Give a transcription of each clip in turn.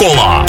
Кола.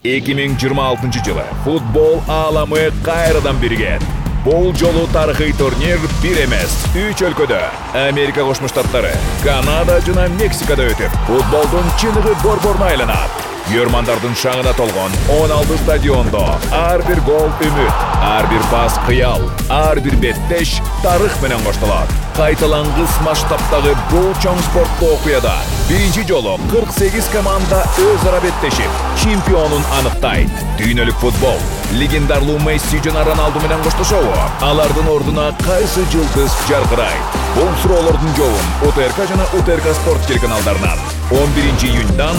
2026 жылы футбол ааламы кайрадан биригет. Бул жолу тарыхый турнир бир эмес, 3 өлкөдө Америка Кошмо Штаттары, Канада жана Мексикада өтүп, футболдун чыныгы борборуна айланат. Көрмандардын шаңына толгон 16 стадиондо ар бир гол үмүт, ар бир пас кыял, ар бир беттеш тарых менен коштолот. Кайталангыс масштабтагы бул чоң спорттуу окуяда биринчи жолу 48 команда өз ара беттешип, чемпионун аныктайт. Дүйнөлүк футбол легендарлуу Месси жана Роналду менен коштошобу? Алардын ордуна кайсы жылдыз жаркырайт? Бул суроолордун жообун УТРК жана УТРК спорт телеканалдарынан 11 июньдан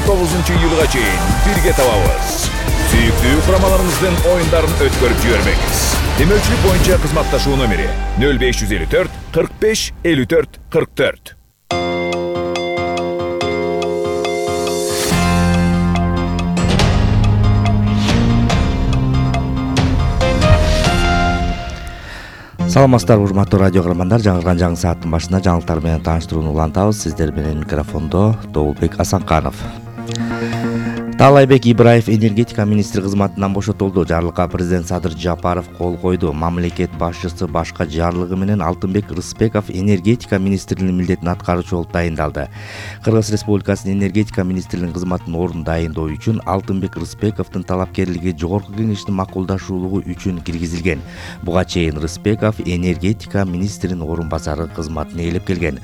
19 июлга чейин бирге табабыз. Сүйүктүү курамаларыңыздын оюндарын өткөрүп жибербеңиз. Демөөлчүлүк боюнча кызматташуу номери 0554 45 54 44. Саламатсыздар, урматтуу радио каармандар. Жаңы сааттын башында жаңылыктар менен тааныштырууну улантабыз. Сиздер менен микрофондо Добулбек Асанканов. Таалайбек Ибраев энергетика министри кызматынан бошотулду. Жарлыкка президент Садыр Жапаров кол койду. Мамлекет башчысы башка жарлыгы менен Алтынбек Рыспеков энергетика министринин милдетин аткаруучу болуп дайындалды. Кыргыз Республикасынын энергетика министринин кызматынын ордун дайындоо үчүн Алтынбек Рыспековдун талапкерлиги жогорку кеңештин макулдашуулугу үчүн киргизилген. Буга чейин Рыспеков энергетика министринин орун басары кызматын ээлеп келген.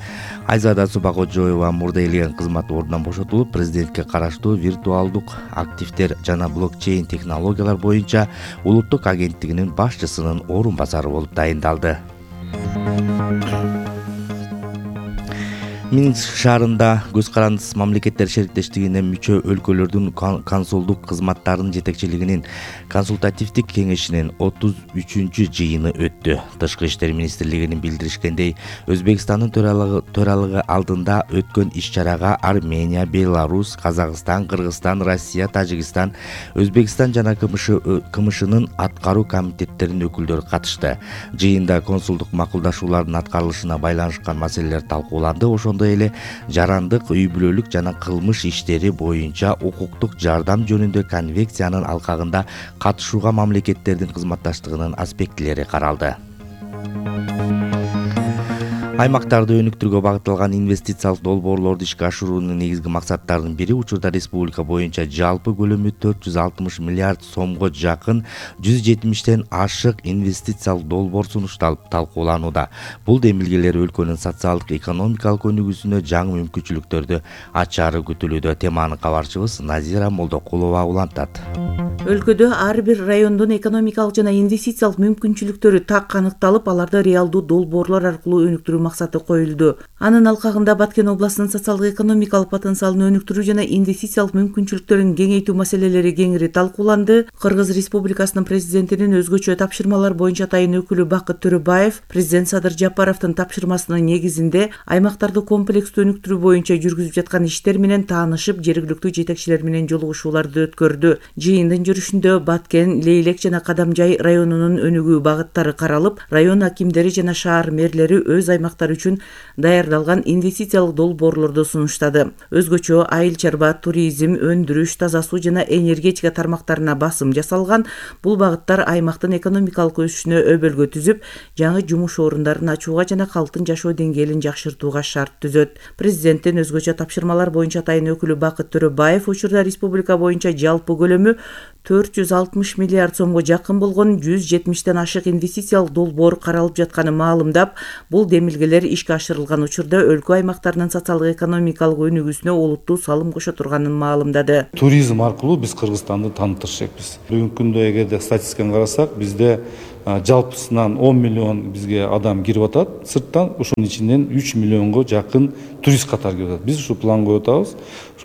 Айзада Субакожоева мурда ээлеген кызмат ордунан бошотулуп, президентке караштуу виртуалдук активдер жана блокчейн технологиялар боюнча улуттук агенттигинин башчысынын орун басары болуп дайындалды. Минск шаарында Көз карандысыз мамлекеттер шериктештигине мүчө өлкөлөрдүн консулдук кызматтарынын жетекчилигинин консультативдик кеңешинин 33-чү жыйыны өттү. Тышкы иштер министрлигинин билдиришкендей, Өзбекстандын төралыгы алдында өткөн иш-чарага Армения, Беларусь, Казакстан, Кыргызстан, Россия, Тажикстан, Өзбекстан жана КМШнын аткаруу комитеттеринин өкүлдөрү катышты. Жыйында консулдук макулдашуулардын аткарылышына байланышкан маселелер талкууланды. Ошондой эле жарандык, үй бүлөлүк жана кылмыш иштери боюнча укуктук жардам жөнүндө конвенциянын алкагында катышууга мамлекеттердин кызматташтыгынын аспектилери каралды. Аймактарды өнүктүрүүгө багытталган инвестициялык долбоорлорду ишке ашыруунун негизги максаттарынын бири учурда республика боюнча жалпы көлөмү 460 миллиард сомго жакын 170тен ашык инвестициялык долбоор сунушталып талкууланууда. Бул демилгелер өлкөнүн социалдык экономикалык өнүгүүсүнө жаңы мүмкүнчүлүктөрдү ачаары күтүлүүдө. Теманы кабарчыбыз Назира Молдокулова улантат. Өлкөдө ар бир райондун экономикалык жана инвестициялык мүмкүнчүлүктөрү так аныкталып, аларды реалдуу долбоорлор аркылуу өнүктүрүү максаты коюлду. Анын алкагында Баткен областынын социалдык экономикалык потенциалын өнүктүрүү жана инвестициялык мүмкүнчүлүктөрүн кеңейтүү маселелери кеңири талкууланды. Кыргыз Республикасынын президентинин өзгөчө тапшырмалар боюнча атайын өкүлү Бакыт Төрөбаев президент Садыр Жапаровдун тапшырмасынын негизинде аймактарды комплекстүү өнүктүрүү боюнча жүргүзүп жаткан иштер менен таанышып, жергиликтүү жетекчилер менен жолугушууларды өткөрдү. Жыйындын жүрүшүндө Баткен, Лейлек жана Кадамжай районунун өнүгүү багыттары каралып, район акимдери жана шаар мэрлери өз аймактары үчүн даярдалган инвестициялык долбоорлорду сунуштады. Өзгөчө айыл чарба, туризм, өндүрүш, таза суу жана энергетика тармактарына басым жасалган. Бул багыттар аймактын экономикалык өсүшүнө өбөлгө түзүп, жаңы жумуш орундарын ачууга жана калктын жашоо деңгээлин жакшыртууга шарт түзөт. Президенттин өзгөчө тапшырмалар боюнча атайын өкүлү Бакыт Төрөбаев учурда республика боюнча жалпы көлөмү 460 миллиард сомго жакын болгон 170тен ашык инвестициялык долбоор каралып жатканын маалымдап, бул демилгелер ишке ашырылган учурда өлкө аймактарынын социалдык экономикалык өнүгүүсүнө олуттуу салым кошо турганын маалымдады. Туризм аркылуу биз Кыргызстанды таныттырышпыз. Бүгүнкү күндө эгерде статистиканы карасак, бизде жалпысынан 10 миллион бизге адам кирип атат сырттан, ушунун ичинен 3 миллионго жакын турист катары кирип атат. Биз ушу план коюп атабыз.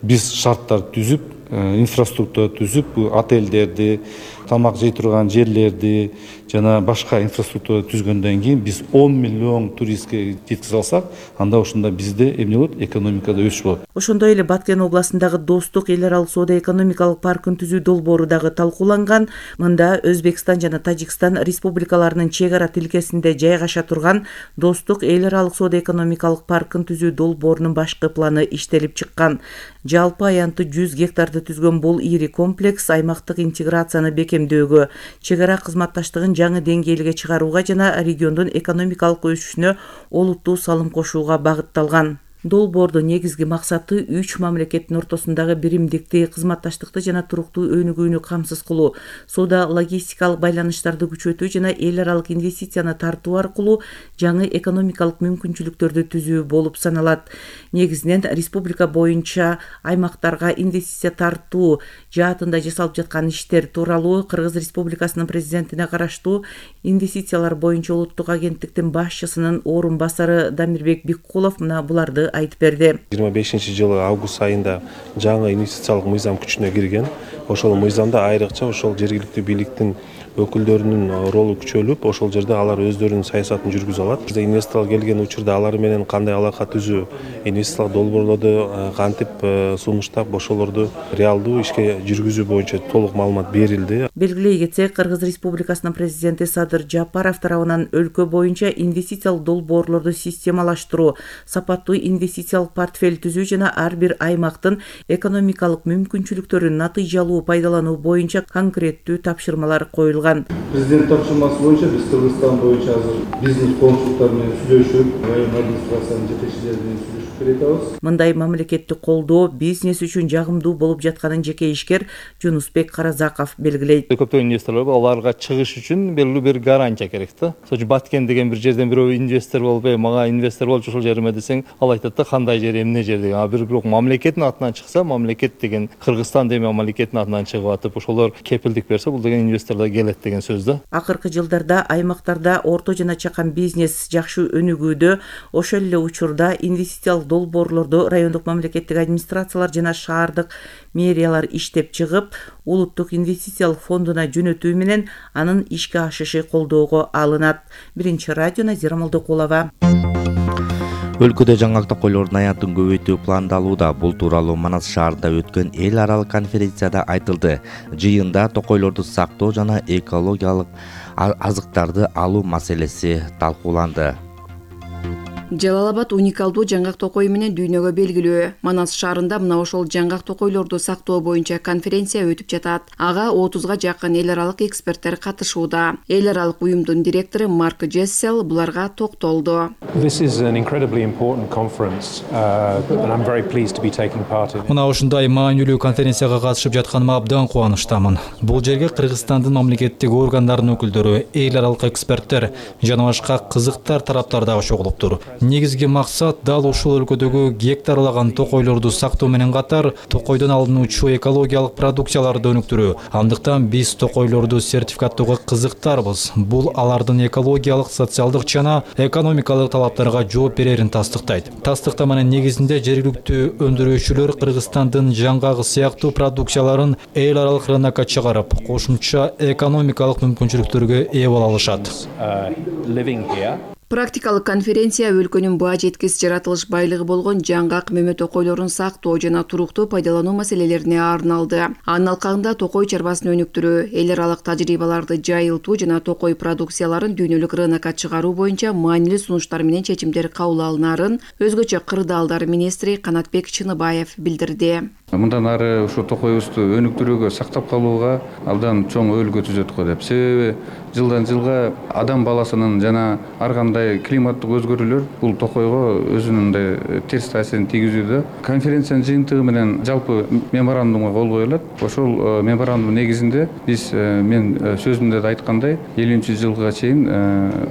Биз шарттар түзүп, инфраструктура түзүп, отелдерди, Тамак жей турган жерлерди жана башка инфраструктура түзгөндөн кийин биз 10 миллион туристке жеткизе алсак, анда ошондо бизде эмне болот? Экономикада өсүш болот. Ошондой эле Баткен областындагы Достук эл аралык соода экономикалык паркын түзүү долбоору дагы талкууланган. Мында Өзбекстан жана Тажикстан республикаларынын чек ара тилкесинде жайгаша турган Достук эл аралык соода экономикалык паркын түзүү долбоорунун башкы планы иштелип чыккан. Жалпы аянты 100 гектарды түзгөн бул ири комплекс аймактык интеграцияны бекемдөөгө, чек ара кызматташтыгын жаңы деңгээлге чыгарууга жана региондун экономикалык өсүшүнө олуттуу салым кошууга багытталган. Долбоордун негизги максаты 3 мамлекеттин ортосундагы биримдикти, кызматташтыкты жана туруктуу өнүгүүнү камсыз кылуу, соода логистикалык байланыштарды күчөтүү жана эл аралык инвестицияны тартуу аркылуу жаңы экономикалык мүмкүнчүлүктөрдү түзүү болуп саналат. Негизинен республика боюнча аймактарга инвестиция тартуу жаатында жасалып жаткан иштер тууралуу Кыргыз Республикасынын президентине караштуу инвестициялар боюнча улуттук агенттиктин башчысынын орун басары Дамирбек Биккулов мына буларды айтып берди. 25-жылы август айында жаңы инвестициялык мыйзам күчүнө кирген. Ошол мыйзамда айрыкча ошол жергиликтүү бийликтин өкүлдөрүнүн ролу күчөлүп, ошол жерде алар өздөрүнүн саясатын жүргүзө алат. Бизде инвесторлор келген учурда алар менен кандай алака түзүү, инвестициялык долбоорлорду кантип сунуштап, ошолорду реалдуу ишке жүргүзүү боюнча толук маалымат берилди. Белгилей кетсек, Кыргыз Республикасынын президенти Садыр Жапаров тарабынан өлкө боюнча инвестициялык долбоорлорду системалаштыруу, сапаттуу инвестициялык портфель түзүү жана ар бир аймактын экономикалык мүмкүнчүлүктөрүн натыйжалуу пайдалануу боюнча конкреттүү тапшырмалар коюлган. Президент тапшырмасы боюнча биз Кыргызстан боюнча азыр бизнес консулттар менен сүйлөшүп, район администрациянын жетекчилери менен сүйлөшүп беребиз. Мындай мамлекеттик колдоо бизнес үчүн жагымдуу болуп жатканын жеке ишкер Жунусбек Каразаков белгилейт. Көптөгөн инвесторлор аларга чыгыш үчүн белгилүү бир гарантия керек да. Ошо Баткен деген бир жерден бирөө инвестор болуп, мага инвестор болчу ушул жериме десең, ал айтат да кандай жер, эмне жер деген. Бирок мамлекеттин атынан чыкса, мамлекет деген Кыргызстан деген мамлекеттин атынан чыгып атып, ошолор кепилдик берсе, бул деген инвесторлор келет деген сөз да. Акыркы жылдарда аймактарда орто жана чакан бизнес жакшы өнүгүүдө, ошол эле учурда инвестициялык долбоорлорду райондук мамлекеттик администрациялар жана шаардык мэриялар иштеп чыгып, улуттук инвестициялык фондуна жөнөтүү менен анын ишке ашышы колдоого алынат. Биринчи радио Назира Молдокулова. Өлкөдө жаңак токойлордун аянтын көбөйтүү пландалууда. Бул тууралуу Манас шаарында өткөн эл аралык конференцияда айтылды. Жыйында токойлорду сактоо жана экологиялык азыктарды алуу маселеси талкууланды. Жалал-Абад уникалдуу жаңгак токой менен дүйнөгө белгилүү. Манас шаарында мына ошол жаңгак токойлорду сактоо боюнча конференция өтүп жатат. Ага 30га жакын эл аралык эксперттер катышууда. Эл аралык уюмдун директору Марк Джессел буларга токтолду. Мына ушундай маанилүү конференцияга катышып жатканыма абдан кубанычтамын. Бул жерге Кыргызстандын мамлекеттик органдарынын өкүлдөрү, эл аралык эксперттер жана башка кызыктар тараптар дагы чогулуптур. Негизги максат дал ушул өлкөдөгү гектарлаган токойлорду сактоо менен катар токойдон алынуучу экологиялык продукцияларды өнүктүрүү. Андыктан биз токойлорду сертификаттоого кызыктарбыз. Бул алардын экологиялык, социалдык жана экономикалык талаптарга жооп берерин тастыктайт. Тастыктаманын негизинде жергиликтүү өндүрүүчүлөр Кыргызстандын жаңгагы сыяктуу продукцияларын эл аралык рынокко чыгарып, кошумча экономикалык мүмкүнчүлүктөргө ээ боло алышат. Практикалык конференция өлкөнүн баа жеткис жаратылыш байлыгы болгон жаңгак мөмө токойлорун сактоо жана туруктуу пайдалануу маселелерине арналды. Анын алкагында токой чарбасын өнүктүрүү, эл аралык тажрыйбаларды жайылтуу жана токой продукцияларын дүйнөлүк рынокко чыгаруу боюнча маанилүү сунуштар менен чечимдер кабыл алынарын өзгөчө кырдаалдар министри Канатбек Чыныбаев билдирди. Мындан ары ушу токойубузду өнүктүрүүгө, сактап калууга абдан чоң өбөлгө түзөт го деп. Себеби жылдан жылга адам баласынын жана ар кандай климаттык өзгөрүүлөр бул токойго өзүнүн терс таасирин тийгизүүдө. Конференциянын жыйынтыгы менен жалпы меморандумга кол коюлат. Ошол меморандум негизинде биз мен сөзүмдө да айткандай 50-жылга чейин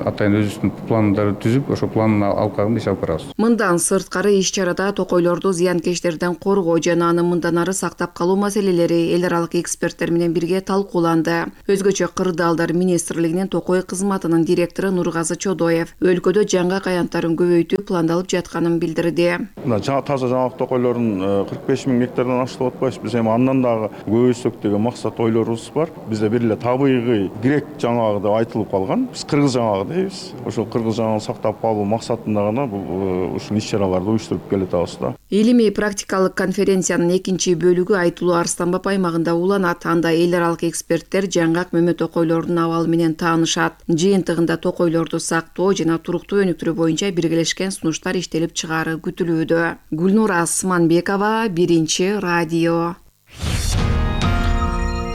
атайын өзүбүздүн пландарды түзүп, ошол пландын алкагында иш алып барабыз. Мындан сырткары иш чарада токойлорду зыянкечтерден коргоо жана анын мындан ары сактап калуу маселелери эл аралык эксперттер менен бирге талкууланды. Өзгөчө кырдаалдар министрлигинин Токой кызматынын директору Нургазы Чодоев өлкөдө жаңгак аянттарын көбөйтүү пландалып жатканын билдирди. Таза жаңгак токойлорун 45 000 гектардан ашытып атпайбыз. Биз эми андан дагы көбөйтсөк деген максат ойлорубуз бар. Бизде бир эле табигый грек жаңгагы деп айтылып калган. Биз кыргыз жаңгагы дейбиз. Ошол кыргыз жаңгагын сактап калуу максатында гана бул ушул иш-чараларды уюштуруп келатабыз да. Илимий практикалык конференциянын экинчи бөлүгү Айтылуу Арстанбап аймагында уланат. Анда эл аралык эксперттер жаңгак мөмө токойлордун абалы менен таанышат. Жыйынтыгында токойлорду сактоо жана туруктуу өнүктүрүү боюнча биргелешкен сунуштар иштелип чыгаары күтүлүүдө. Гүлнур Асманбекова, Биринчи радио.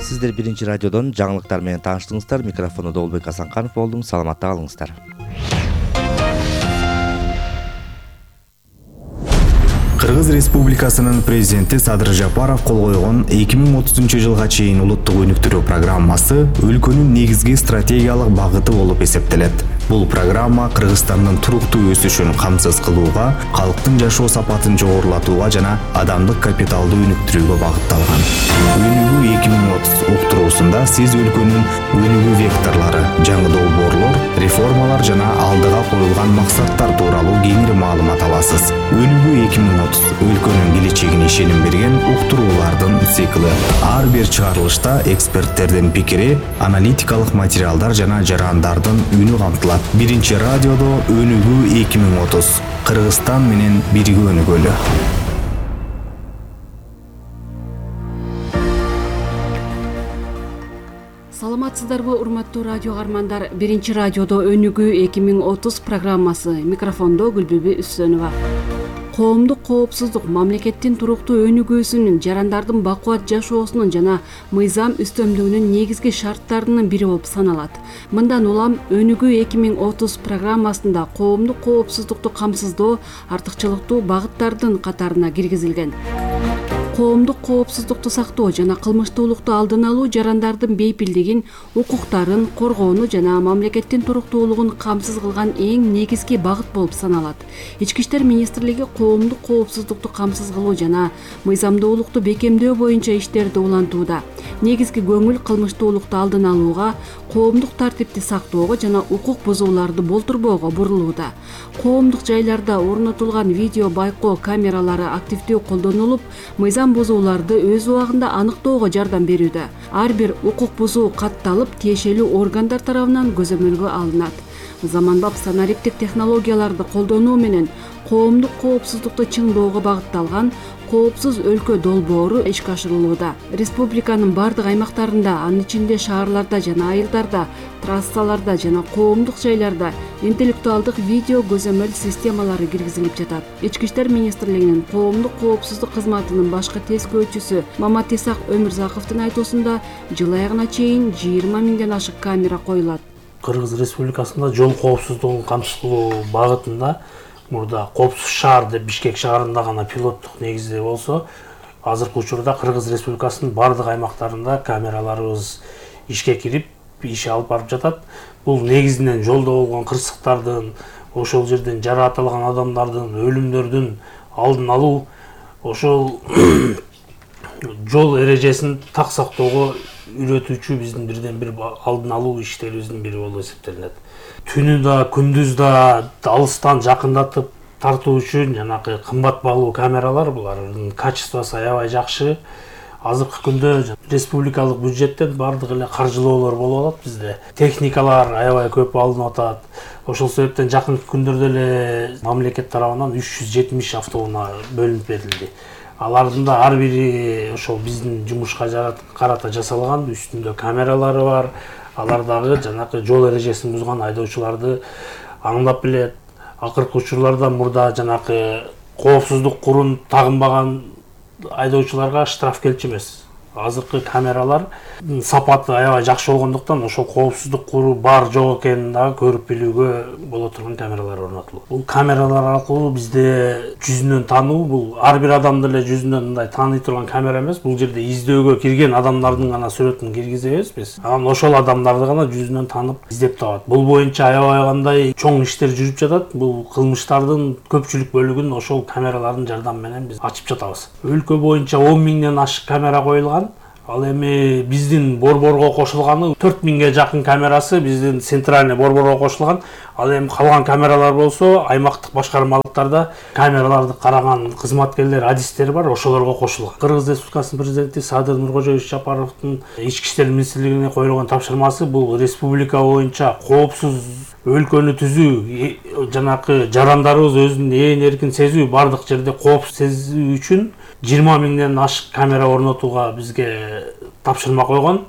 Сиздер Биринчи радиодон жаңылыктар менен тааныштыңыздар. Микрофону Долбек Асанканов болдум. Саламатта калыңыздар. Кыргыз Республикасынын президенти Садыр Жапаров кол койгон 2030-жылга чейин улуттук өнүктүрүү программасы өлкөнүн негизги стратегиялык багыты болуп эсептелет. Бул программа Кыргызстандын туруктуу өсүшүн камсыз кылууга, калктын жашоо сапатын жогорулатууга жана адамдык капиталды өнүктүрүүгө багытталган. Өнүгүү 2030 уктуруусунда сиз өлкөнүн өнүгүү векторлору, жаңы долбоорлор, реформалар жана алдыга коюлган максаттар тууралуу кеңири маалымат аласыз. Өнүгүү 2030 өлкөнүн келечегине ишеним берген уктуруулардын циклы. Ар бир чыгарылышта эксперттердин пикири, аналитикалык материалдар жана жарандардын үнү камтылат. Биринчи радиодо Өнүгүү 2030. Кыргызстан менен бирге өнүгөлү. Саламатсыздарбы, урматтуу радио каармандар. Биринчи радиодо Өнүгүү 2030 программасы. Микрофондо Гүлбүбү Үсөнова. Коомдук коопсуздук мамлекеттин туруктуу өнүгүүсүнүн, жарандардын бакубат жашоосунун жана мыйзам үстөмдүгүнүн негизги шарттарынын бири болуп саналат. Мындан улам Өнүгүү 2030 программасында коомдук коопсуздукту камсыздоо артыкчылыктуу багыттардын катарына киргизилген. Коомдук коопсуздукту сактоо жана кылмыштуулукту алдын алуу жарандардын бейпилдигин, укуктарын коргоону жана мамлекеттин туруктуулугун камсыз кылган эң негизги багыт болуп саналат. Ички иштер министрлиги коомдук коопсуздукту камсыз кылуу жана мыйзамдуулукту бекемдөө боюнча иштерди улантууда. Негизги көңүл кылмыштуулукту алдын алууга, коомдук тартипти сактоого жана укук бузууларды болтурбоого бурулууда. Коомдук жайларда орнотулган видео байкоо камералары активдүү колдонулуп, мыйзам бузууларды өз убагында аныктоого жардам берүүдө. Ар бир укук бузуу катталып, тиешелүү органдар тарабынан көзөмөлгө алынат. Заманбап санариптик технологияларды колдонуу менен коомдук коопсуздукту чыңдоого багытталган коопсуз өлкө долбоору ишке ашырылууда. Республиканын бардык аймактарында, анын ичинде шаарларда жана айылдарда, трассаларда жана коомдук жайларда интеллектуалдык видео көзөмөл системалары киргизилип жатат. Ички иштер министрлигинин коомдук коопсуздук кызматынын башкы тескөөчүсү Мамат Исак Өмүрзаковдун айтуусунда жыл аягына чейин 20 000ден ашык камера коюлат. Кыргыз Республикасында жол коопсуздугун камсыз кылуу багытында мурда коопсуз шаар деп Бишкек шаарында гана пилоттук негизде болсо, азыркы учурда Кыргыз Республикасынын бардык аймактарында камераларыбыз ишке кирип, иш алып барып жатат. Бул негизинен жолдо болгон кырсыктардын, ошол жерден жаракатталган адамдардын, өлүмдөрдүн алдын алуу, ошол жол эрежесин так сактоого үйрөтүүчү биздин бирден бир алдын алуу иштерибиздин бири болуп эсептелинет. Түнү да, күндүз да алыстан жакындатып тартуу үчүн жанагы кымбат баалуу камералар, булардын качествосу аябай жакшы. Азыркы күндө республикалык бюджеттен бардык эле каржылоолор болуп атат бизде. Техникалар аябай көп алынып атат. Ошол себептен жакынкы күндөрдө эле мамлекет тарабынан 370 автоунаа бөлүнүп берилди. Алардын да ар бири ошол биздин жумушка карата жасалган, үстүндө камералары бар. Алар дагы жанагы жол эрежесин бузган айдоочуларды аңдап билет. Акыркы учурларда мурда жанагы коопсуздук курун тагынбаган айдоочуларга штраф келчү эмес. азыркы камералар сапаты аябай жакшы болгондуктан ошол коопсуздук куру бар жок экенин дагы көрүп билүүгө боло турган камералар орнотулган. Бул камералар аркылуу бизде жүзүнөн таануу, бул ар бир адамды эле жүзүнөн мындай тааный турган камера эмес. Бул жерде издөөгө кирген адамдардын гана сүрөтүн киргизебиз биз. Анан ошол адамдарды гана жүзүнөн таанып издеп табат. Бул боюнча аябай кандай чоң иштер жүрүп жатат. Бул кылмыштардын көпчүлүк бөлүгүн ошол камералардын жардамы менен биз ачып жатабыз. Өлкө боюнча 10 миңден ашык камера коюлган. Ал эми биздин борборго кошулганы 4 миңге жакын камерасы биздин центральный борборго кошулган. Ал эми калган камералар болсо аймактык башкармалыктарда камераларды караган кызматкерлер, адистер бар, ошолорго кошулган. Кыргыз Республикасынын президенти Садыр Нуркожоевич Жапаровдун Ички иштер министрлигине коюлган тапшырмасы бул республика боюнча коопсуз өлкөнү түзүү, жанакы жарандарыбыз өзүн ээн эркин сезүү, бардык жерде коопсуз сезүү үчүн 20 миңден ашык камера орнотууга бизге тапшырма койгон.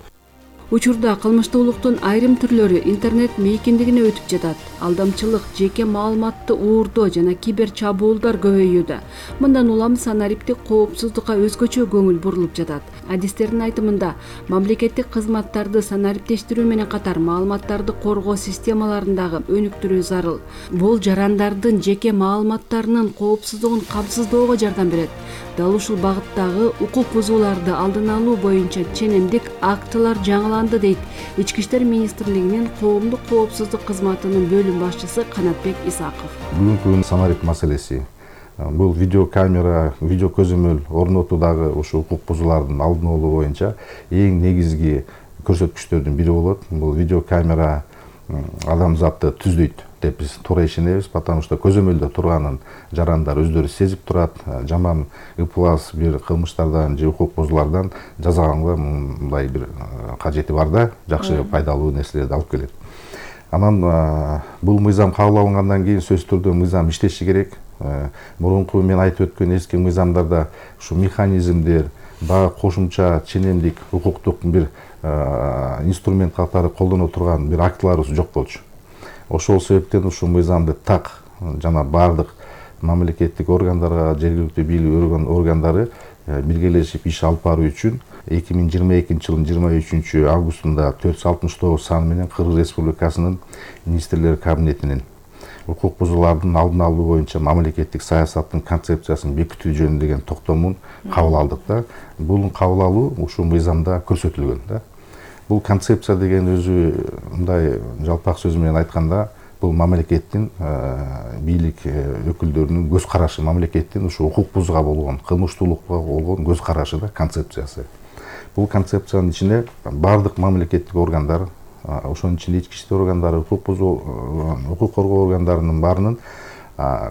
Учурда кылмыштуулуктун айрым түрлөрү интернет мейкиндигине өтүп жатат. Алдамчылык, жеке маалыматты уурдоо жана кибер чабуулдар көбөйүүдө. Мындан улам санариптик коопсуздукка өзгөчө көңүл бурулуп жатат. Адистердин айтымында, мамлекеттик кызматтарды санариптештирүү менен катар маалыматтарды коргоо системаларын дагы өнүктүрүү зарыл. Бул жарандардын жеке маалыматтарынын коопсуздугун камсыздоого жардам берет. Дал ушул багыттагы укук бузууларды алдын алуу боюнча ченемдик актылар жаңыланды дейт Ички иштер министрлигинин коомдук коопсуздук кызматынын бөлүм башчысы Канатбек Исаков. Бүгүнкү санарип маселеси бул видеокамера, видео көзөмөл орнотуудагы ушу укук бузуулардын алдын алуу боюнча эң негизги көрсөткүчтөрдүн бири болот. Бул видеокамера адамзатты түздөйт деп биз туура ишенебиз, потому что көзөмөлдө турганын жарандар өздөрү сезип турат. Жаман ыплас бир кылмыштардан же укук бузуулардан жазаганга мындай бир кажети бар да, жакшы пайдалуу нерселерди алып келет. Анан бул мыйзам кабыл алынгандан кийин сөзсүз түрдө мыйзам иштеши керек. Мурунку мен айтып өткөн эски мыйзамдарда ушу механизмдер, баа кошумча ченемдик укуктук бир инструмент катары колдоно турган бир актыларыбыз жок болчу. Ошол себептен ушул мыйзамды так жана бардык мамлекеттик органдарга, жергиликтүү бийлик органдары биргелешип иш алып баруу үчүн 2022 жылдын 23 августунда 469 саны менен Кыргыз Республикасынын министрлер кабинетинин укук бузуулардын алдын алуу боюнча мамлекеттик саясаттын концепциясын бекитүү жөнүндөгү токтомун кабыл алдык да. Бул кабыл алуу ушул мыйзамда көрсөтүлгөн да. Бул концепция деген өзү мындай жалпак сөз менен айтканда, бул мамлекеттин бийлик өкүлдөрүнүн көз карашы, мамлекеттин ушу укук бузууга болгон, кылмыштуулукка болгон көз карашы да, концепциясы. Бул концепциянын ичине бардык мамлекеттик органдар, ошонун ичинде ички иштер органдары, укук коргоо органдарынын баарынын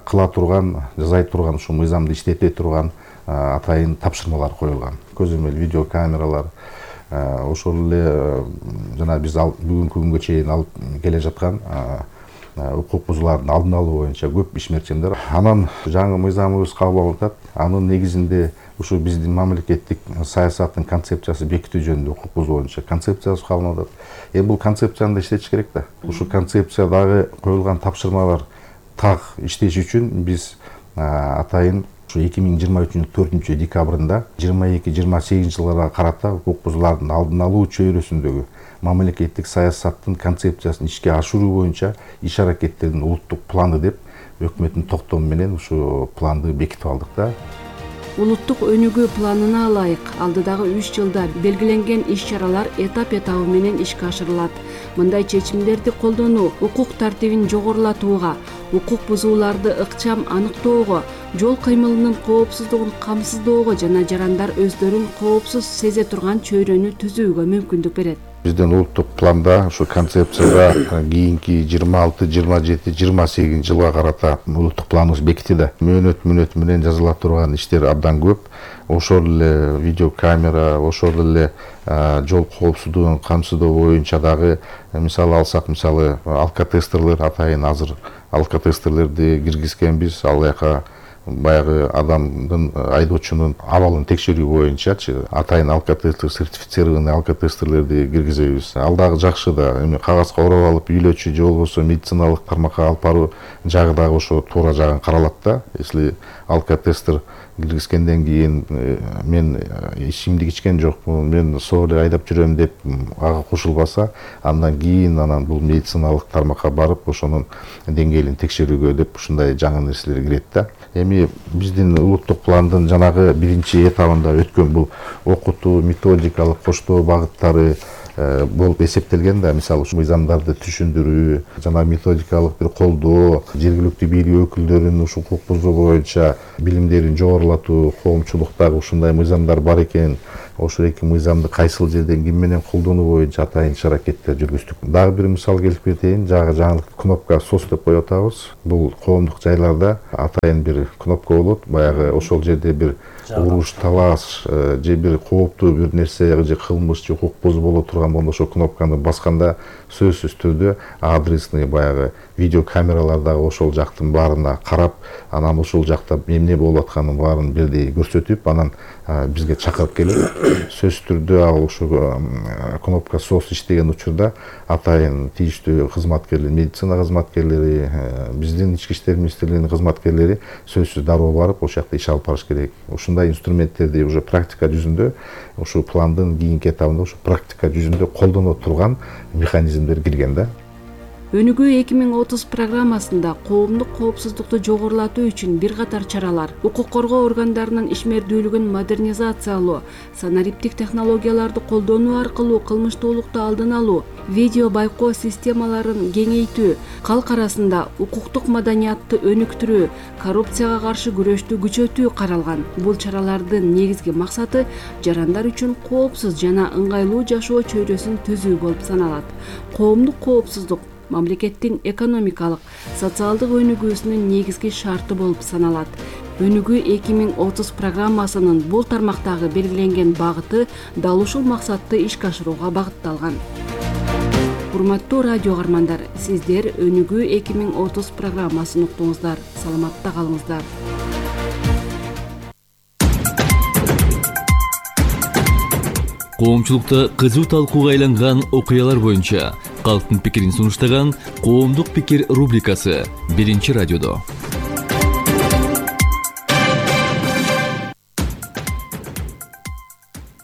кыла турган, жасай турган, ушул мыйзамды иштете турган атайын тапшырмалар коюлган. Көзөмөл видеокамералар, ошол эле жана биз бүгүнкү күнгө чейин алып келе жаткан укук бузуулардын алдын алуу боюнча көп ишмерчимдер. Анан жаңы мыйзамыбыз кабыл алынып атат. Анын негизинде ушу биздин мамлекеттик саясаттын концепциясы бекитүү жөнүндө укук бузуу боюнча концепциясы кабыл алынып атат. Эми бул концепцияны да иштетиш керек да. Ушу концепциядагы коюлган тапшырмалар так иштеш үчүн биз атайын ушу 2023 4 декабрында 22-28 жылдарга карата укук бузуулардын алдын алуу чөйрөсүндөгү мамлекеттик саясаттын концепциясын ишке ашыруу боюнча иш аракеттердин улуттук планы деп өкмөттүн токтому менен ушу планды бекитип алдык да. Улуттук өнүгүү планына ылайык алдыдагы 3 жылда белгиленген иш-чаралар этап-этабы менен ишке ашырылат. Мындай чечимдерди колдонуу укук тартибин жогорулатууга, укук бузууларды ыкчам аныктоого, жол кыймылынын коопсуздугун камсыздоого жана жарандар өздөрүн коопсуз сезе турган чөйрөнү түзүүгө мүмкүндүк берет. Биздин улуттук планда ушу концепцияда кийинки 26, 27, 28 жылга карата улуттук планыбыз бекитилди. Мөөнөт менен жазыла турган иштер абдан көп. Ошол эле видеокамера, ошол эле жол коопсуздугун камсыздоо боюнча дагы мисалы алсак, алкотестерлер атайын азыр алкотестерлерди киргизгенбиз. Ал жака баягы адамдын айдоочунун абалын текшерүү боюнчачы атайын алкотестер, сертифицированный алкотестерлерди киргизебиз. Ал дагы жакшы да. Эми кагазга ороп алып үйлөчү же болбосо медициналык тармакка алып баруу жагы дагы ошо туура жагын каралат да. Если алкотестер киргизгенден кийин мен ичимдик ичкен жокмун, мен соо эле айдап жүрөм деп ага кошулбаса, андан кийин бул медициналык тармакка барып ошонун деңгээлин текшерүүгө деп ушундай жаңы нерселер кирет да. Эми биздин улуттук пландын жанагы биринчи этабында өткөн бул окутуу, методикалык коштоо багыттары болуп эсептелген да. Мисалы мыйзамдарды түшүндүрүү, жана методикалык бир колдоо, жергиликтүү бийлик өкүлдөрүнүн ушул укук бузуу боюнча билимдерин жогорулатуу, коомчулуктагы ушундай мыйзамдар бар экенин, ошол эки мыйзамды кайсыл жерден ким менен колдонуу боюнча атайын иш-аракеттер жүргүздүк. Дагы бир мисал келип кетейин, жаңылык кнопка SOS деп коюп атабыз. Бул коомдук жайларда атайын бир кнопка болот. Баягы ошол жерде бир уруш, талаш же бир кооптуу бир нерсе же кылмыш же укук бузуу боло турган болсо ошол кнопканы басканда сөзсүз түрдө адресный баягы видео камералар дагы ошол жактын баарына карап, анан ошол жакта эмне болуп атканын баарын бирдей көрсөтүп, анан бизге чакырып келип, сөзсүз түрдө ал ошол кнопка SOS иштеген учурда атайын тийиштүү кызматкерлер, медицина кызматкерлери, биздин ички иштер министрлигинин кызматкерлери сөзсүз дароо барып ошол жакта иш алып барыш керек. Ушундай инструменттерди уже практика жүзүндө, ушул пландын кийинки этабында ушул практика жүзүндө колдоно турган механизмдер кирген да. Өнүгүү 2030 программасында коомдук коопсуздукту жогорулатуу үчүн бир катар чаралар, укук коргоо органдарынын ишмердүүлүгүн модернизациялоо, санариптик технологияларды колдонуу аркылуу кылмыштуулукту алдын алуу, видео байкоо системаларын кеңейтүү, калк арасында укуктук маданиятты өнүктүрүү, коррупцияга каршы күрөштү күчөтүү каралган. Бул чаралардын негизги максаты жарандар үчүн коопсуз жана ыңгайлуу жашоо чөйрөсүн түзүү болуп саналат. Коомдук коопсуздук мамлекеттин экономикалык, социалдык өнүгүүсүнүн негизги шарты болуп саналат. Өнүгүү 2030 программасынын бул тармактагы белгиленген багыты дал ушул максатты ишке ашырууга багытталган. Урматтуу радио каармандар, сиздер Өнүгүү 2030 программасын уктуңуздар. Саламатта калыңыздар. Коомчулукта кызуу талкууга айланган окуялар боюнча калктын пикирин сунуштаган Коомдук пикир рубрикасы Биринчи радиодо.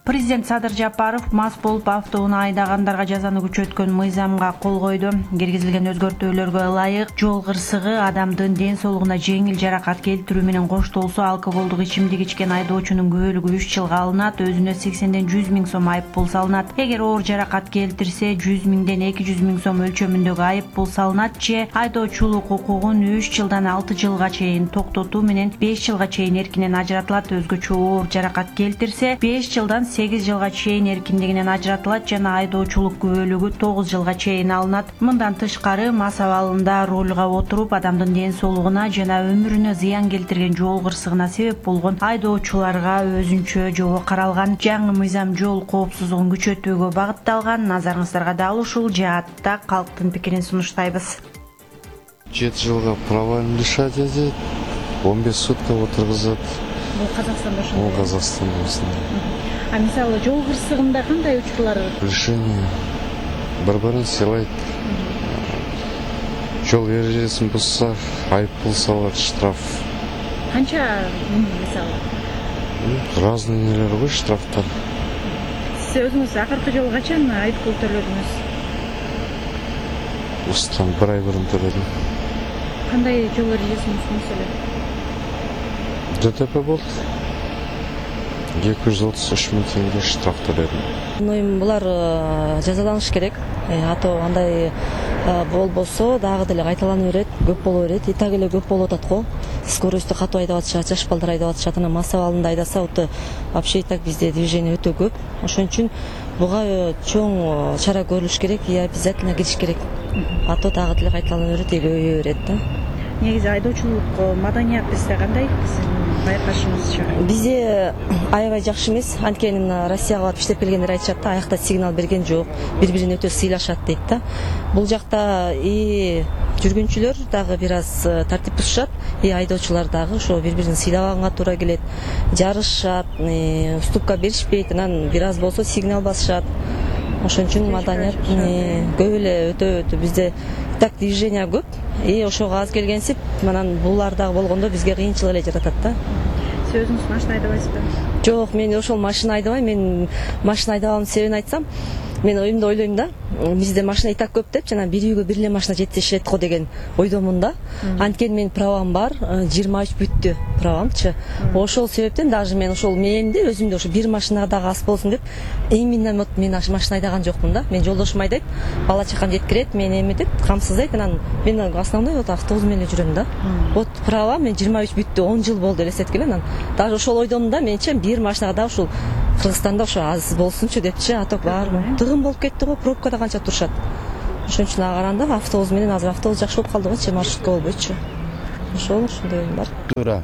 Президент Садыр Жапаров мас болуп автоунаа айдагандарга жазаны күчөткөн мыйзамга кол койду. Киргизилген өзгөртүүлөргө ылайык жол кырсыгы адамдын ден соолугуна жеңил жаракат келтирүү менен коштолсо алкоголдук ичимдик ичкен айдоочунун күбөлүгү 3 жылга алынат, өзүнө 80ден 100 миң сом айып пул салынат. Эгер оор жаракат келтирсе 100 миңден 200 миң сом өлчөмүндөгү айып пул салынат же айдоочулук укугун 3 жылдан 6 жылга чейин токтотуу менен 5 жылга чейин эркинен ажыратылат. Өзгөчө оор жаракат келтирсе 5 жылдан 8 жылга чейин эркиндигинен ажыратылат жана айдоочулук күбөлүгү 9 жылга чейин алынат. Мындан тышкары мас абалында рулга отуруп адамдын ден соолугуна жана өмүрүнө зыян келтирген жол кырсыгына себеп болгон айдоочуларга өзүнчө жобо каралган. Жаңы мыйзам жол коопсуздугун күчөтүүгө багытталган. Назарыңыздарга дал ушул жаатта калктын пикирин сунуштайбыз. 7 жылга правоын лишать этет, 15 сутка отургузат. Бул Казакстанда ошондой. Бул Казакстанда ошондой. А мисалы жол кырсыгында кандай учурлар? Лишение. Бір-бірін сыйлайт. Жол ережесин бузса, айып пул салат, штраф. Канча мисалы? Разный нелер ғой штрафтар. Сиз өзүңүз акыркы жолу качан айып пул төлөдүңүз? Осыдан 1 ай бұрын төлөдүм. Кандай жол ережесин буздуңуз эле? ДТП болды. 233 миң теңге штраф төлөдүм. Булар жазаланыш керек. А то андай болбосо дагы деле кайталана берет, көп боло берет. И так эле көп болуп атат го. Скоростьту катуу айдап атышат, жаш балдар айдап атышат. Анан мас абалында айдаса, вообще и так бизде движение өтө көп. Ошон үчүн буга чоң чара көрүлүш керек и обязательно кириш керек. А то дагы деле кайталана берет, көбөйө берет да. Негизи айдоочулук маданият бизде кандай? Байкашыңызча? Бизде аябай жакшы эмес. Анткени Россияга барып иштеп келгендер айтышат да, аякта сигнал берген жок, бири-бирине өтө сыйлашат дейт да. Бул жакта и жүргүнчүлөр дагы бир аз тартип бузушат, айдоочулар дагы ошо бири бирин сыйлаганга туура келет, жарышат, уступка беришпейт, анан бир аз болсо сигнал басышат. Ошон үчүн маданият көп эле, өтө бизде так движение көп, ошого аз келгенсип, анан булар дагы болгондо бизге кыйынчылык эле жаратат да. Сиз өзүңүз машина айдабайсызбы? Жок, мен ошол машина айдабайм. Мен машина айдабаганын себебин айтсам, мен оюмда ойлойм да, бизде машина и так көп деп, жана бир үйгө бир эле машина жетишет го деген ойдомун да. Анткени менин правам бар, 23 бүттү правамчы. Ошол себептен даже мен ошол мээмди өзүмдө ошо бир машинага дагы аз болсун деп, именно мен машина айдаган жокмун да. Мен жолдошум айдайт, бала чакам жеткирет, мен эметет, камсыздайт, анан мен основной вот автобус менен жүрөм да. Вот права мен 23 бүттү, 10 жыл болду элестеткеле, анан даже ошол ойдомун да, менче бир машинага дагы ушул Кыргызстанда ошо аз болсунчу депчи, аток баарбы. Тыгын болуп кетти го, пробкада канча турушат. Ошон үчүн ага караганда автобус менен азыр автобус жакшы болуп калды го, маршрутка болбойчу. Ошондой оюм бар. Туура.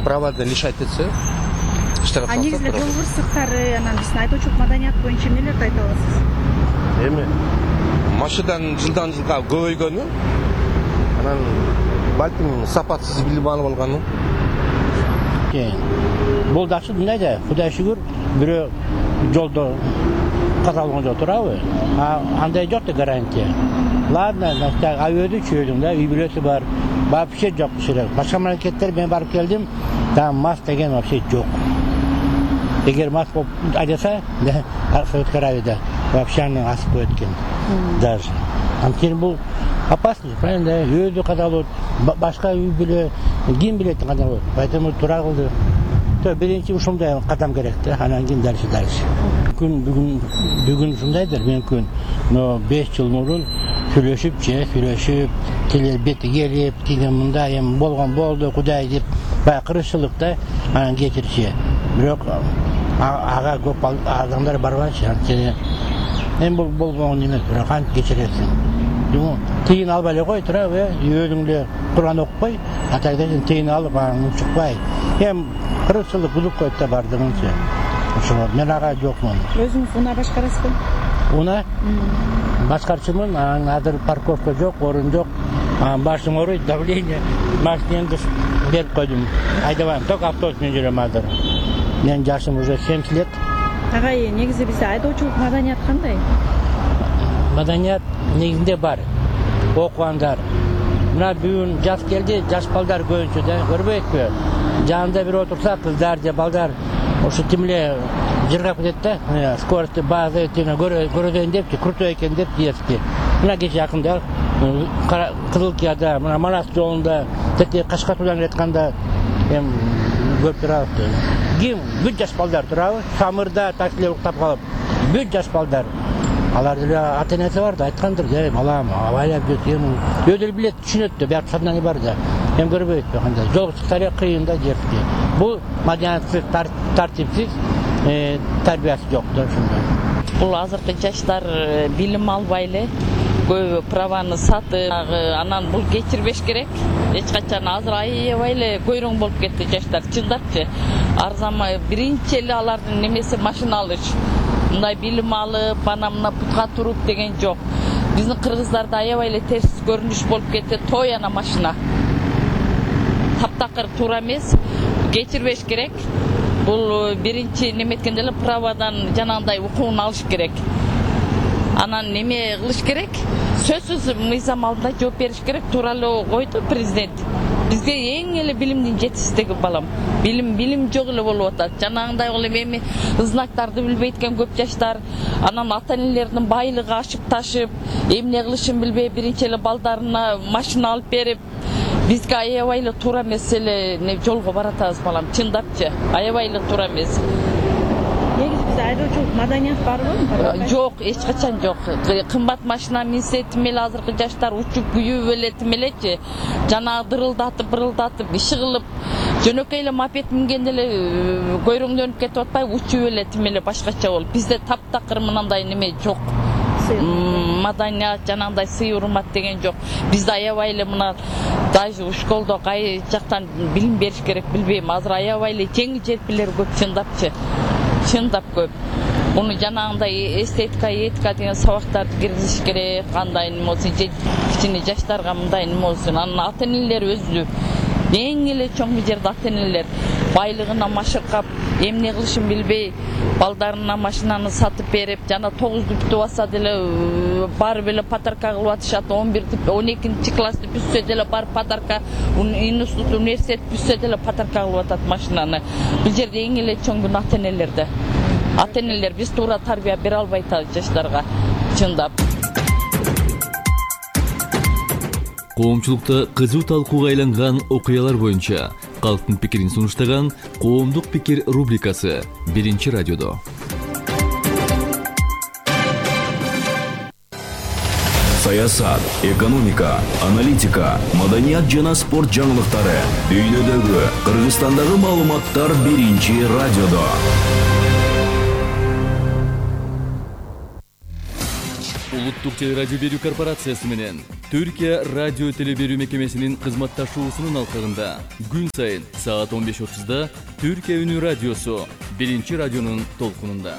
Правадан лишать этсе, иштеп калса. Негизи жол кырсыктары, анан биздин айдоочулук маданият боюнча эмнелерди айта аласыз? Эми машинадан жылдан жылга көбөйгөнү, анан балким сапатсыз билим алып алганы. Бул дагы мындай да, Кудай шүгүр, бирөө жолдо каза болгон жок турабы? Андай жок да гарантия. Ладно, авиоду чөйдүм да, үй бүлөсү бар. Вообще жок шерек. Башка мамлекеттер мен барып келдим, там мас деген вообще жок. Эгер мас болуп айдаса, Советский Аравияда вообще аны асып коет экен. Даже. Анткени бул опасно, правильно? Өзү каза болот, башка үй бүлө ким билет кандай болот. Поэтому туура кылды. Биринчи ушундай кадам керек да, анан кийин дальше. Бүгүн ушундайдыр, мүмкүн. Но 5 жыл мурун сүйлөшүп, тилер бети келип, тиген мындай эми болгон болду, Кудай деп, баягы кыргызчылык да, анан кечирчи. Бирок ага көп адамдар барбайчы, анткени эми бул болгон эмес, бирок кантип кечиресиң. Тыйын албай эле кой турабы, өзүң эле Куран окупай, атайдан тыйын алып, анан учукпай. Эми кыргызчылык булуп коет да бардыгынча. Ошо мен ага жокмун. Өзүңүз унаа башкарасызбы? Унаа? Башкарчымын, анан азыр парковка жок, орун жок. Башым ооруйт, давление. Машинемди берип койдум. Айдабайм, только автобус менен жүрөм азыр. Менин жашым уже 70 лет. Агай, негизи бизде айдоочулук маданият кандай? Маданият негизинде бар. Окугандар. Мына бүгүн жаз келди, жаш балдар көбүнчө да, көрбөйсүзбү? Жанында бир отурса, кыздар же балдар ошо тимле жыргап кетет да, скоростьты баазы көрөзөйүн депчи, крутой экен деп диески. Мына кече жакында Кызылкияда, мына Манас жолунда, тете Кашкатуудан келатканда эми көрүп турабыз. Ким бүт жаш балдар турабы, самырда таксиле уктап калып, бүт жаш балдар. Алар деле ата-энеси бар да, айткандыр, балам, абайлап жүрсүң, өзү билет, түшүнөт да, бияк сознание бар да. Эми көрбөйт кандай. Жол чыктары кыйын да жерди. Бул маданиятсыз, тартипсиз, тарбиясы жок да ошондой. Бул азыркы жаштар билим албай эле, көбү праваны сатып, анан бул кечирбеш керек. Эч качан азыр аябай эле көйрөң болуп кетти жаштар, чындапчы. Арзамай биринчи эле алардын немеси машина алыш. Мындай билим алып, мына путка туруп деген жок. Биздин кыргыздарда аябай эле терс көрүнүш болуп кетти, той ана машина. Таптакыр туура эмес, кечирбеш керек. Бул биринчи неметкенде эле правадан жанагындай укугун алыш керек. Анан неме кылыш керек? Сөзсүз мыйзам алдында жооп бериш керек. Туура эле койду президент. Бизге эң эле билимдин жетишсиздиги балам. Билим жок эле болуп атат. Жанагындай эми знактарды билбейт экен көп жаштар. Анан ата-энелердин байлыгы ашып ташып, эмне кылышын билбей биринчи эле балдарына машина алып берип, бизге аябай эле туура эмес эле жолго баратабыз балам, чындапчы. Аябай эле туура эмес. Негизи бизде айдоочулук маданият барбы? Жок, эч качан жок. Кымбат машина минсе тим эле азыркы жаштар учуп күйүп эле тим элечи. Жана бырылдатып, иши кылып, жөнөкөй эле мопед мингенде эле көйрөңдөнүп кетип атпайбы, учуп эле тим эле башкача болуп. Бизде таптакыр мындай неме жок. Маданият жанагындай сый урмат деген жок. Бизде аябай эле мына даже школдо кай жактан билим бериш керек билбейм. Азыр аябай эле жеңил желпилер көп, чындапчы. Чындап көп. Муну жанагындай эстетика, этика деген сабактарды киргизиш керек. Кандай неме болсун, кичине жаштарга мындай неме болсун. Анан ата-энелер өзү эң эле чоң жерде ата-энелер байлыгына машыккап, эмне кылышын билбей, балдарына машинаны сатып берип, жана 9-ду бүтүп алса деле барып эле подарка кылып атышат. 11-ти, 12-чи классты бүтсө деле барып подарка, институт, университет бүтсө деле подарка кылып атат машинаны. Бул жерде эң эле чоң күн ата-энелерде. Ата-энелер биз туура тарбия бере албай атабыз жаштарга, чындап. Коомчулукта кызуу талкууга айланган окуялар боюнча калктын пикирин сунуштаган Коомдук пикир рубрикасы Биринчи радиодо. Саясат, экономика, аналитика, маданият жана спорт жаңылыктары, дүйнөдөгү, Кыргызстандагы маалыматтар Биринчи радиодо. Улуттук телерадио берүү корпорациясы менен Түркия радио телеберүү мекемесинин кызматташуусунун алкагында күн сайын саат 15:30да Түркия үнү радиосу Биринчи радионун толкунунда.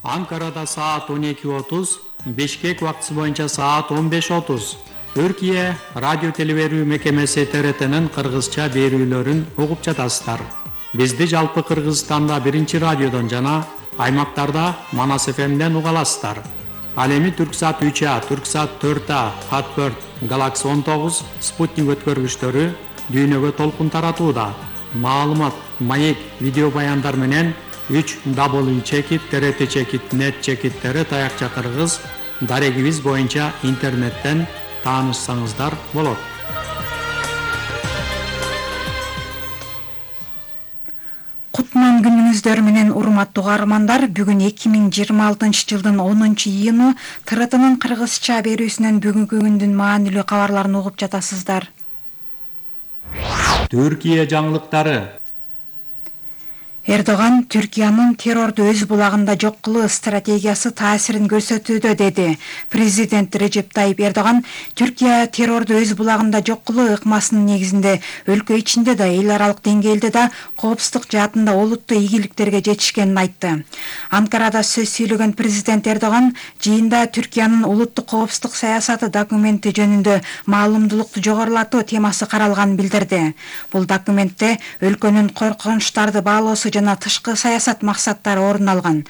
Анкарада саат 12:30, Бишкек убактысы боюнча саат 15:30. Түркия радио телеберүү мекемеси ТРТнын кыргызча берүүлөрүн угуп жатасыздар. Бизди жалпы Кыргызстанда Биринчи радиодон жана аймактарда Манас ФМден уга аласыздар. Ал эми Түрксат 3А, Түрксат 4А, Хатберт, Galaxy 19, Спутник өткөргүчтөрү дүйнөгө толкун таратууда. Маалымат, маек, видео баяндар менен 3w.trt.net таякча кыргыз дарегибиз боюнча интернеттен таанышсаңыздар болот. Кутман күнүңүздөр менен урматтуу каармандар, бүгүн 2026 жылдын 10-июну ТРТнын кыргызча берүүсүнөн бүгүнкү күндүн маанилүү кабарларын угуп жатасыздар. Түркия жаңылыктары. Эрдоган Түркиянын террорду өз булагында жок кылуу стратегиясы таасирин көрсөтүүдө деди. Президент Режеп Тайип Эрдоган Түркия террорду өз булагында жок кылуу ыкмасынын негизинде өлкө ичинде да эл аралык деңгээлде да коопсуздук жаатында олуттуу ийгиликтерге жетишкенин айтты. Анкарада сөз сүйлөгөн президент Эрдоган жыйында Түркиянын улуттук коопсуздук саясаты документи жөнүндө маалымдуулукту жогорулатуу темасы каралганын билдирди. Бул документте өлкөнүн коркунучтарды баалоосу жана тышкы саясат максаттары орун алган.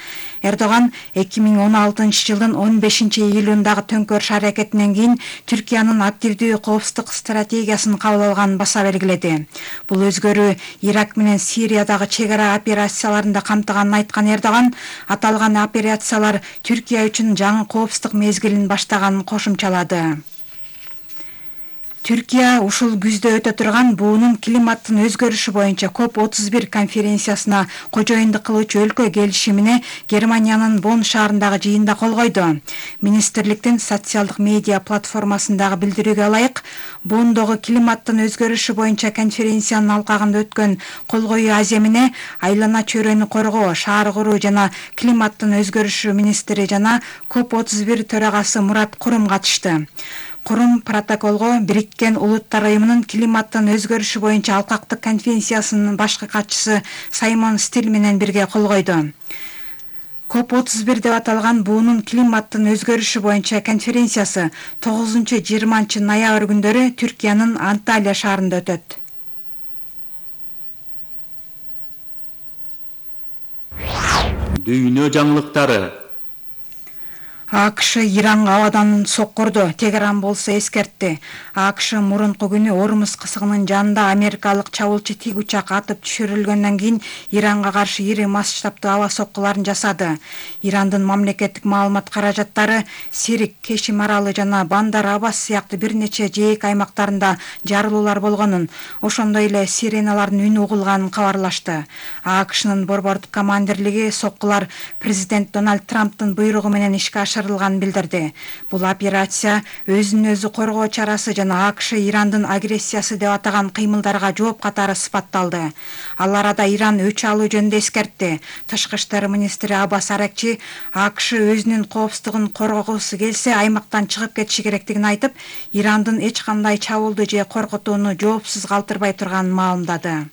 Эрдоган 2016 жылдын 15-июлундагы төңкөрүш аракетинен кийин Түркиянын активдүү коопсуздук стратегиясын кабыл алганын баса белгиледи. Бул өзгөрүү Ирак менен Сириядагы чек ара операцияларында камтыганын айткан Эрдоган, аталган операциялар Түркия үчүн жаңы коопсуздук мезгилин баштаганын кошумчалады. Түркия ушул күздө өтө турган буунун климаттын өзгөрүшү боюнча COP31 конференциясына кожоюндук кылуучу өлкө келишимине Германиянын Бонн шаарындагы жыйында кол койду. Министрликтин социалдык медиа платформасындагы билдирүүгө ылайык, Бонндогу климаттын өзгөрүшү боюнча конференциянын алкагында өткөн кол коюу аземине айлана чөйрөнү коргоо, шаар куруу жана климаттын өзгөрүшү министри жана COP31 төрагасы Мурат Курум катышты. Курум протоколго Бириккен Улуттар Уюмунун климаттын өзгөрүшү боюнча алкактык конференциясынын башкы катчысы Саймон Стил менен бирге кол койду. COP31 деп аталган буунун климаттын өзгөрүшү боюнча конференциясы 9-20 ноябрь күндөрү Түркиянын Анталия шаарында өтөт. Дүйнө жаңылыктары. АКШ Иранга абадан соккурду, Тегеран болсо эскертти. АКШ мурунку күнү Ормуз кысыгынын жанында америкалык чабуулчу тик учак атып түшүрүлгөндөн кийин Иранга каршы ири масштабтуу аба соккуларын жасады. Ирандын мамлекеттик маалымат каражаттары Сирик, Кешим аралы жана Бандар Аббас сыяктуу бир нече жээк аймактарында жарылуулар болгонун, ошондой эле сиреналардын үнү угулганын кабарлашты. АКШнын борбордук командирлиги соккулар президент Дональд Трамптын буйругу менен ишке ашырылганын билдирди. Бул операция өзүн өзү коргоо чарасы жана АКШ Ирандын агрессиясы деп атаган кыймылдарга жооп катары сыпатталды. Ал арада Иран өч алуу жөнүндө эскертти. Тышкы иштер министри Аббас Аракчи АКШ өзүнүн коопсуздугун коргогусу келсе аймактан чыгып кетиши керектигин айтып, Ирандын эч кандай чабуулду же коркутууну жоопсуз калтырбай турганын маалымдады.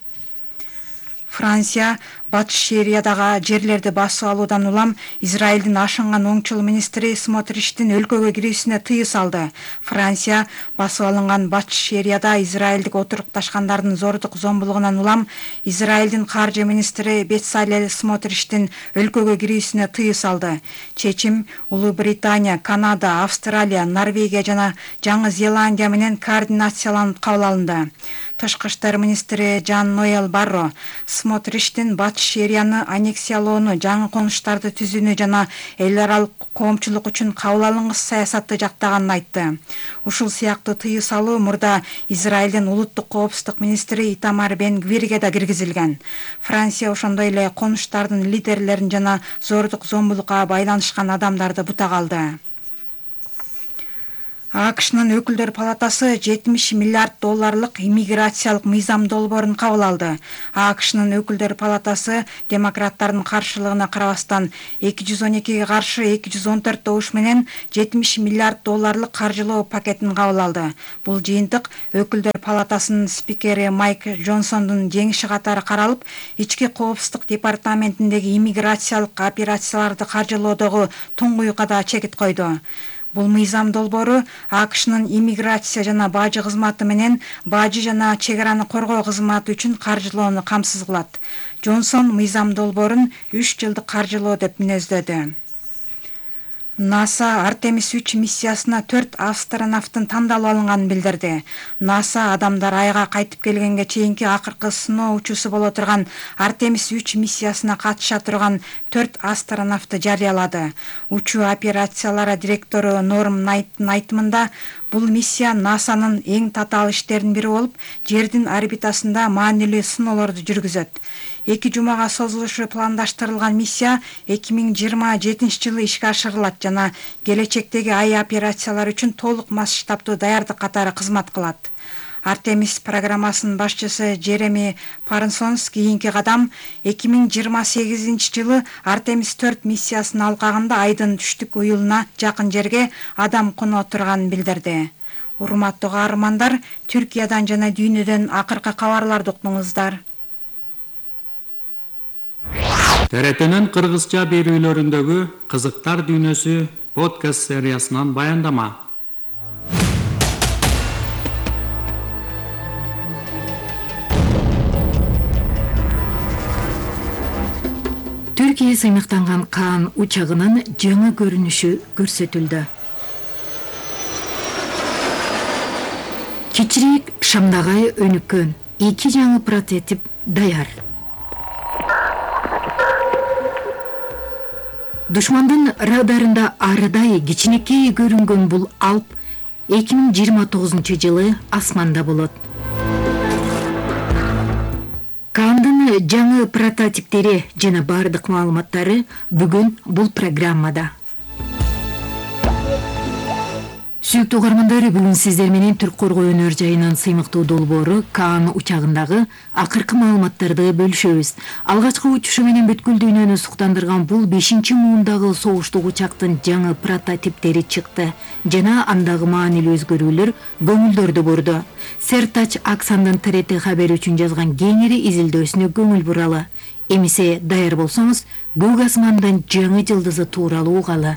Франция Батыш Сириядагы жерлерди басып алуудан улам Израилдин ашынган оңчул министри Смотриштин өлкөгө кирүүсүнө тыюу салды. Франция басып алынган Батыш Сирияда Израилдик отурукташкандардын зордук зомбулугунан улам Израилдин каржы министри Бецалел Смотриштин өлкөгө кирүүсүнө тыюу салды. Чечим Улуу Британия, Канада, Австралия, Норвегия жана Жаңы Зеландия менен координацияланып кабыл алынды. Тышкы иштер министри Жан Ноэл Барро Смотриштин Батыш Сирияны аннексиялоону, жаңы конуштарды түзүүнү жана эл аралык коомчулук үчүн кабыл алынгыс саясатты жактаганын айтты. Ушул сыяктуу тыюу салуу мурда Израилдин улуттук коопсуздук министри Итамар Бен Гвирге да киргизилген. Франция ошондой эле конуштардын лидерлерин жана зордук зомбулукка байланышкан адамдарды бутага алды. АКШнын өкүлдөр палатасы 70 миллиард долларлык иммиграциялык мыйзам долбоорун кабыл алды. АКШнын өкүлдөр палатасы демократтардын каршылыгына карабастан 212-ге каршы 214 добуш менен 70 миллиард долларлык каржылоо пакетин кабыл алды. Бул жыйынтык өкүлдөр палатасынын спикери Майк Джонсондун жеңиши катары каралып, ички коопсуздук департаментиндеги иммиграциялык операцияларды каржылоодогу туңгуюкка да чекит койду. Бул мыйзам долбоору АКШнын иммиграция жана бажы кызматы менен бажы жана чек араны коргоо кызматы үчүн каржылоону камсыз кылат. Джонсон мыйзам долбоорун 3 жылдык каржылоо деп мүнөздөдү. НАСА Артемис 3 миссиясына 4 астронавттын тандалып алынганын билдирди. НАСА адамдар айга кайтып келгенге чейинки акыркы сыноо учуусу боло турган Артемис 3 миссиясына катыша турган 4 астронавтты жарыялады. Учуу операциялары директору Норм Найттын айтымында, бул миссия НАСАнын эң татаал иштеринин бири болуп, жердин орбитасында маанилүү сыноолорду жүргүзөт. 2 жумага созулушу пландаштырылган миссия 2027 жылы ишке ашырылат жана келечектеги ай операциялары үчүн толук масштабтуу даярдык катары кызмат кылат. Артемис программасынын башчысы Джереми Парнсонс кийинки кадам 2028 жылы Артемис 4 миссиясынын алкагында айдын түштүк уюлуна жакын жерге адам коноо турганын билдирди. Урматтуу каармандар, Түркиядан жана дүйнөдөн акыркы кабарларды уктуңуздар. ТРТнын кыргызча берүүлөрүндөгү кызыктар дүйнөсү подкаст сериясынан баяндама. Түркия сыймыктанган Каан учагынын жаңы көрүнүшү көрсөтүлдү. Кичирээк шамдагай өнүккөн 2 жаңы прототип даяр. Душмандын радарында арыдай кичинекей көрүнгөн бул Алп 2029 жылы асманда болот. Каандын жаңы прототиптери жана бардык маалыматтары бүгүн бул программада. Сүйүктүү угармандар, бүгүн сиздер менен Түрк коргоо өнөр жайынын сыймыктуу долбоору Каан учагындагы акыркы маалыматтарды бөлүшөбүз. Алгачкы учушу менен бүткүл дүйнөнү суктандырган бул 5-муундагы согуштук учактын жаңы прототиптери чыкты жана андагы маанилүү өзгөрүүлөр көңүлдөрдү бурду. Сертач Аксандын ТРТ хабери үчүн жазган кеңири изилдөөсүнө көңүл буралы. Эмесе даяр болсоңуз, көк асмандын жаңы жылдызы тууралуу угалы.